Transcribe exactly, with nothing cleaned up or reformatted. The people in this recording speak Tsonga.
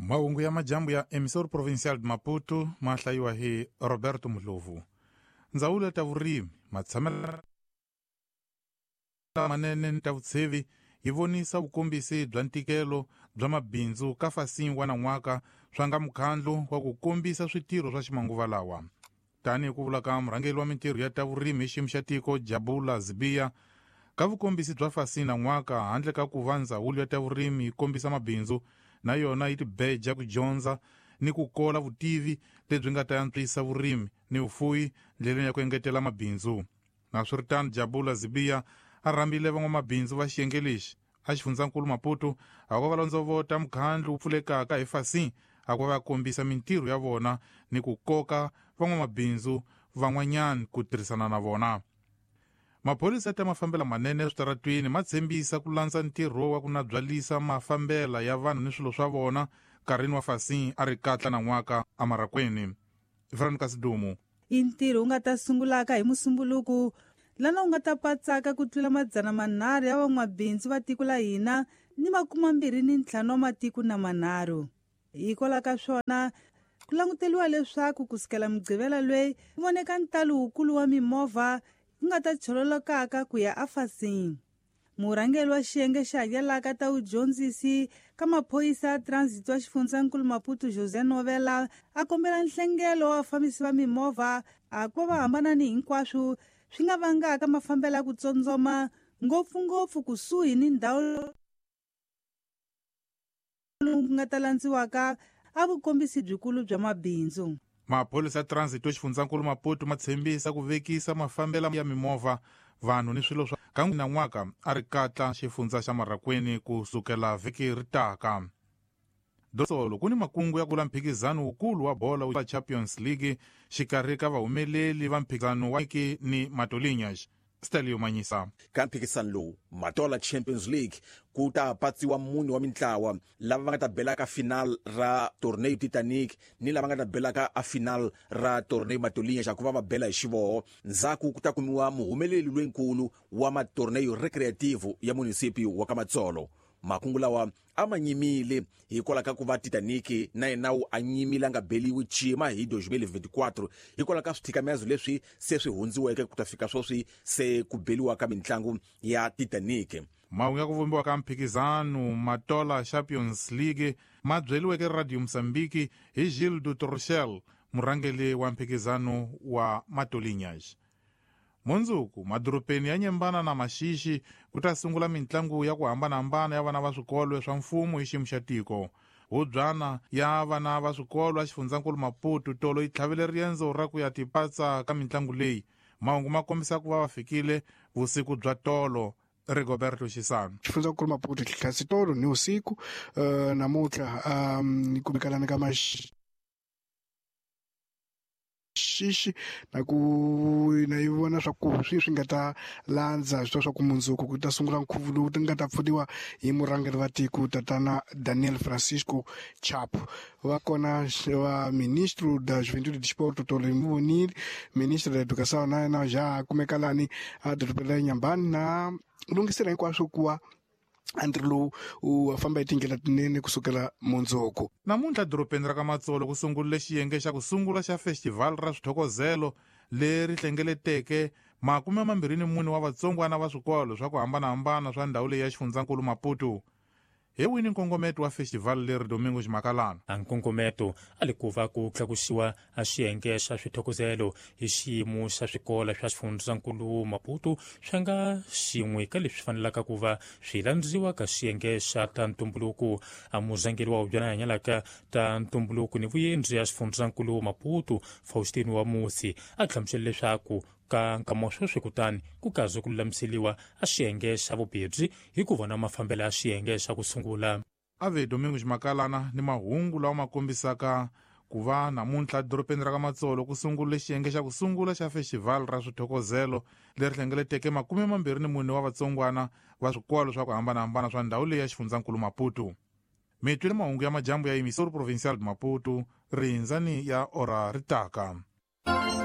Mahungu ya majambu ya Emissor Provincial de Maputo ma hlayiwa hi Roberto Mhlovu. Ndzawulo ya ta vurimi, matshamelo lamanene ni ta vutshevi yi vonisa vukombisi bya ntikelo bya mabindzu ka Fasin wa nan'waka swa nga mukhandlu wa ku kombisa switirho swa ximanguva lawa. Tanihi ku vula ka murhangeri wa mintirho ya ta vurimi hi xiyimo xa tiko Jabula Zibiya, ka vukombisi bya Fasin nan'waka handle ka ku va ndzawulo ya ta vurimi yi kombisa mabindzu na yona yi tibeja ku dyondza ni ku kola vutivi lebyi nga ta antswisa vurimi ni vufuwi ndleleni ya ku engetela mabindzu. Naswiritano, Jabula Zibiya a rhambile van'wamabindzu va xiyenge lexi a xifundzankulu Maputo a ku va londzovota mukhandlu wu pfulekaka hi Fasin a ku va kombisa mintirho ya vona ni ku koka van'wamabindzu van'wanyana ku tirhisana na vona. Maphorisa ya ta mafambela manene eswitaratwini ma tshembisa ku landza ntirho wa ku nabyalisa mafambela ya vanhu ni swilo swa vona nkarhini wa Fasin a ri katla nan'waka emarakweni. Veronica Sidumo. I ntirho wu nga ta sungulaka hi Musumbuluku lana wu nga ta patsaka ku tlula madzana manharhu ya van'wabindzu va tiko la hina ni makumambirhi ni ntlhanu wa matiko na manharhu. Hikwalaho ka swona ku languteriwa leswaku kusukela Mugqivela loyi ku voneka ntalo wukulu wa mimovha ku nga ta chololokaka ku ya aFasin. Murhangeri wa xiyenge xa hakelaka ta vudyondzisi ka maphorisa ya transit wa xifundzankulu Maputo José Novela a kombela nhlengelo wa vafambisi va mimovha a ku va va hambana ni hinkwaswo swi nga vangaka mafambelo ya ku tsondzoma ngopfungopfu kusuhi ni ndhawu lowu ku nga ta landziwaka a vukombisi byikulu bya mabindzu. Maphorisa ya transit wa xifundzankulu Maputo ma tshembisa ku vekisa mafambelo ya mimovha, vanhu ni swilo swa ka nan'waka a ri katla xifundza xa Marakweni ku sukela vhiki ri taka. Dosolo ku ni makungu ya kula mphikizano wukulu wa bola wa Champions League xikarhi ka vahumeleli va mphikizano wa ni Matolinhas. Stelio Manyisa. Ka mphikizano lowu Matola Champions League ku ta patsiwa mune wa mintlawa lava va nga ta bela ka final ra Torneo Titanic ni lava nga ta bela ka a final ra Torneo Matolinhas ku va va bela hi xivoho. Ndzhaku ku ta kumiwa muhumeleli loyinkulu wa matorneo recreativo ya municipio wa ka Matsolo. Makungu lawa a ma nyimile hikwalaho ka ku va Titanic na yena wu a nyimile a nga beliwi cima hi twenty twenty-four hikwalaho ka swithikamezo leswi se swi hundziweke ku ta fika sweswi se ku beliwa ka mitlangu ya Titanic. Mahungu ya ku vumbiwa ka mphikizano Matola Champions League ma byeliweke Radio Mozambique hi Gilles du Torchel, murhangeri wa mphikizano wa Matolinhas. Mundzuku madorobeni ya Nyembana na Maxixi ku ta sungula mitlangu ya ku hambanahambana ya vana va swikolo swa mfumo hi xiyimo xa tiko. Hubyana ya vana va swikolo a xifundzankulu Maputo tolo yi tlhavele riendzo ra ku ya tipatsa ka mitlangu leyi. Mahungu ma kombisa ku va va fikile vusiku bya tolo. Rigoberto Chisano. Xifundzankulu Maputo tlhasi tolo ni usiku uh, namuntlha um, kumikalana ka Maxixi xixi na ku na yi vona swa ku swi swi nga ta landza swi swa ku mundzuku ku ta sungula nkhuvo lowu ti nga ta pfuniwa hi murhangeri wa tiko tatana Daniel Francisco Chapo. Va kona va ministro da Juventude e Desporto Tolo Mvonile, ministro da Educação na yena ja kumeka lani a dorobeni ra Nyambani na lunghisela hinkwaswo ku va ntirho lowu wu famba hi tindlela tinene kusukela mundzuku. Namuntlha dorobeni ra ka Matsolo ku sungurile xiyenge xa ku sungula xa festival ra swithokozelo leri hlengeleteke makume mambirhi ni mune wa vatsongwana va swikolo swa ku hambanahambana swa ndhawu leyi ya xifundzankulu Maputo. Hi wini nkongometo wa festival leri Domingo Ximakalana? A nkongometo a li ku va ku tlakusiwa a xiyenge xa swithokozelo hi xiyimo xa swikolo swa xifundzankulu Maputo swa nga xin'we ka leswi fanelaka ku va swi landziwa ka xiyenge xa ta ntumbuluko. A murhangeri wa hubyana hanyalaka ta ntumbuluko ni vuyendzi ya xifundzankulu Maputo Faustino wa Musi a hlamusela leswaku ka nkama sweswi kutani ku kaze ku lulamiseliwa a xiyenge xa vubedzi hi ku vona mafambelo ya xiyenge xa ku sungula. Ave Domingo Ximakalana ni mahungu lawa ma kombisaka ku va namuntlha dorobeni ra ka Matsolo ku sungule xiyenge xa ku sungula xa festival ra swithokozelo leri hlengeleteke makume mambirhi ni mune wa vatsongwana va swikolo swa ku hambanahambana swa ndhawu leyi ya xifundzankulu Maputo. Mi twile mahungu ya majambu ya Emissor Provincial de Maputo, rindzani ya ora ri taka.